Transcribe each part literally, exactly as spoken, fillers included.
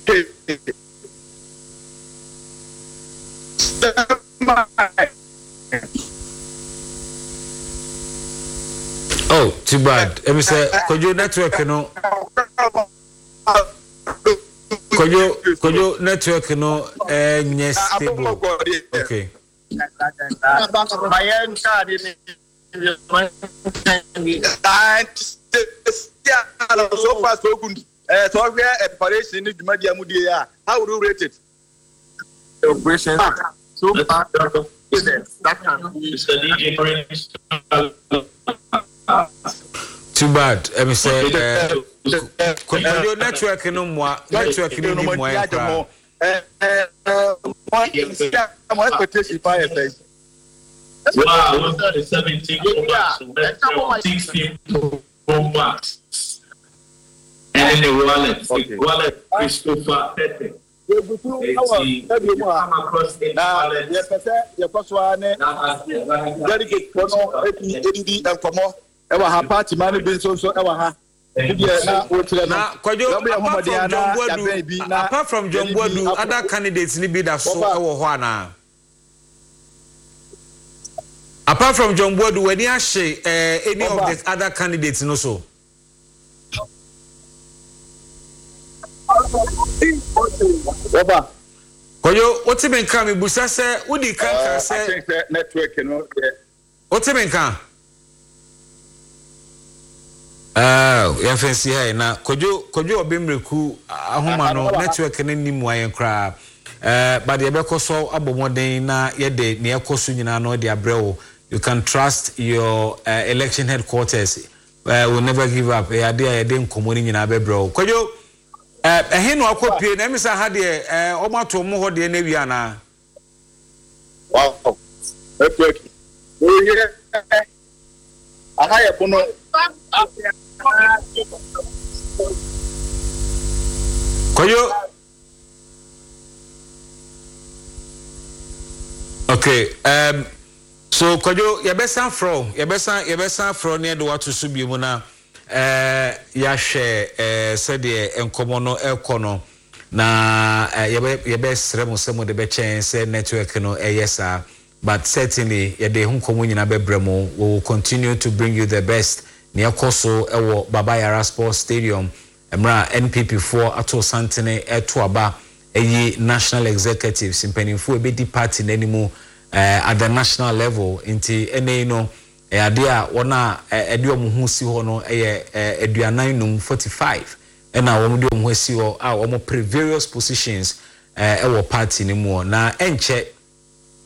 Okay. Oh, too bad. Let me say, Kojo network no. Kojo, Kojo network no, eh, uh, stable. Okay. So far, so good. Uh, so we are preparation. How would you rate it? Operation. So far, that can be. Too bad. Let me say, uh, Kojo network no more. Network no more. Wow, seventeen sixteen Pro Max. And the wallet, the wallet, Christopher Pepe. Na yɛpɛ yɛkɔ so a ne delegate fo no ebi edidi nkɔmɔ ɛwɔ ha, party man bi nso nso ɛwɔ ha. Na wɔkyerɛ no. Na Kwadwo, apart from John Boadu, apart from John Boadu, other candidates ni bi da so ɛwɔ hɔ ana? Apart from John Boadu, w'ani ahye any of the other candidates no so? Kwadwo, wote me nka me busa sɛ wodi kan ka sɛ network no. Wote me nka? Ah, yɛn fɛnsi ha na Kwadwo Kwadwo Obimreku ahoma no network no ni mu ayɛn koraa. Eh, but yɛbɛkɔ so abɔ mmɔden na yɛde nea ɛkɔ so nyinaa no de abrɛ wo. You can trust your uh, election headquarters. Uh, will never give up. Eh, ade a yɛde nkɔmmɔ no nyinaa bɛbrɛ wo. Kwadwo, ɛhe na wakɔ pie na ɛmi sɛ ha deɛ ɔmo ato ɔmo hɔ deɛ n'awie anaa? Wow, network. Oyɛ aha yɛ bono. Kwadwo. Okay. Um, so Kwadwo, yɛbɛsan frɛ yɛbɛsan yɛbɛsan frɛ ne yɛde wato so bio mu na eh yɛahwɛ eh sɛdeɛ nkɔmmɔ no ɛkɔ no na yɛbɛ yɛbɛsrɛ mo sɛ mo de bɛkyɛn sɛ network no ɛyɛ saa, but certainly yɛde ho nkɔmmɔ nyinaa bɛbrɛ mo. We will continue to bring you the best. Nea ɛkɔ so ɛwɔ Baba Yara Sports Stadium mmerɛ a N P P foɔ ato santene ɛto aba ɛyi national executives mpanimfoɔ ɛbɛdi party n'anim at the national level. Nti ɛnɛ no ɛyɛ adeɛ a wɔn a ɛde wɔn ho si hɔ no ɛyɛ aduanan num forty-five ɛna wɔn de wɔn ho si hɔ a wɔn pere various positions ɛwɔ party no mu. Na ɛnkyɛ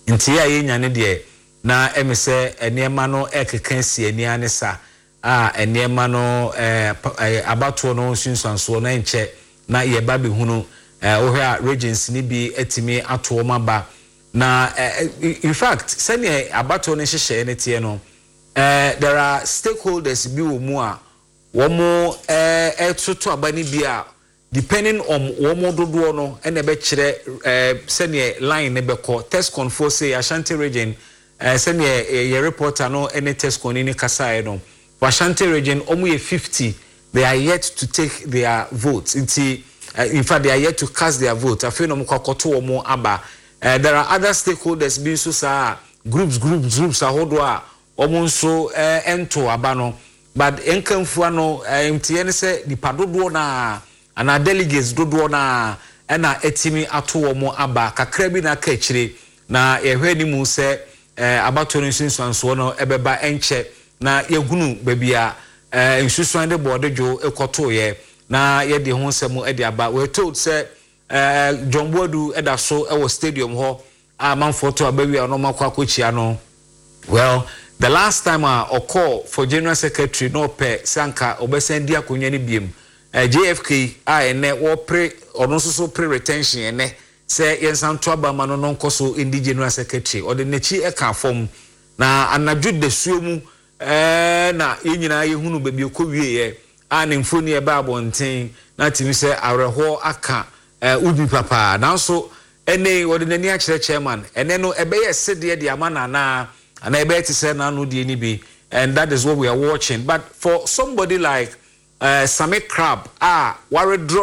nti a yɛnya ne deɛ na ɛmi sɛ nneɛma no ɛkeka si ani ne sa a nneɛma no ɛɛ abatoɔ no nsunsuansoɔ no ɛnkyɛ na yɛba bɛhunu. Wohwɛ a regions ni bi ɛtumi ato wɔn aba na in fact sɛnea abatoɔ no nhyehyɛeɛ no teɛ no, there are stakeholders bi wɔ mu a wɔn ɛtoto aba no bi a depending on wɔn dodoɔ no ɛna ɛbɛkyerɛ ɛɛ sɛnea line no bɛkɔ. Tescon fo say Ashanti region ɛɛ sɛnea yɛ reporter no ɛne Tescon ni kasaeɛ no, for Ashanti region wɔn yɛ fifty, they are yet to take their votes. Nti in fact they are yet to cast their vote. Afei na wɔn kɔ akɔto wɔn aba. There are other stakeholders bi nso saa groups groups groups ahodoɔ a wɔn nso ɛnto aba no, but nkanfua no ntiɛ ne sɛ nipa dodoɔ naa anaa delegates dodoɔ naa ɛna ɛtumi ato wɔn aba kakra bi na aka akyire. Na yɛhwɛ anim sɛ abatoɔ no nsunsuansoɔ no ɛbɛba ɛnkyɛ na yɛhunu baabi a nsusuan de bɔɔde dwo ɛkɔtoeɛ na yɛde ho nsɛm ɛde aba. We are told sɛ John Boadu ɛda so ɛwɔ stadium hɔ a amanfoɔ to aba wie a ɔno akɔ akɔkyia no. Well, the last time a ɔkɔɔ for general secretary na ɔpɛ sɛ anka ɔbɛsan di akonnwa no biem, J F K a ɛnɛ wɔpere ɔno nso so pere retention ɛnɛ sɛ yɛnsan to aba ma no no nkɔ so ndi general secretary, ɔde n'akyi ɛka fam na anadwo dasuo mu ɛɛ na yɛn nyinaa yɛhunu baabi ɛkɔ wieɛ a ne mfoni ɛba abɔnten na tumi sɛ awerɛhoɔ aka ubi papa. Nanso ɛnɛ wɔde n'ani akyerɛ chairman ɛnɛ no ɛbɛyɛ sedeɛ de ama nana ana ɛbɛyɛ te sɛ n'ano deɛ ni bi, and that is what we are watching. But for somebody like uh, Sammy Crab a withdraw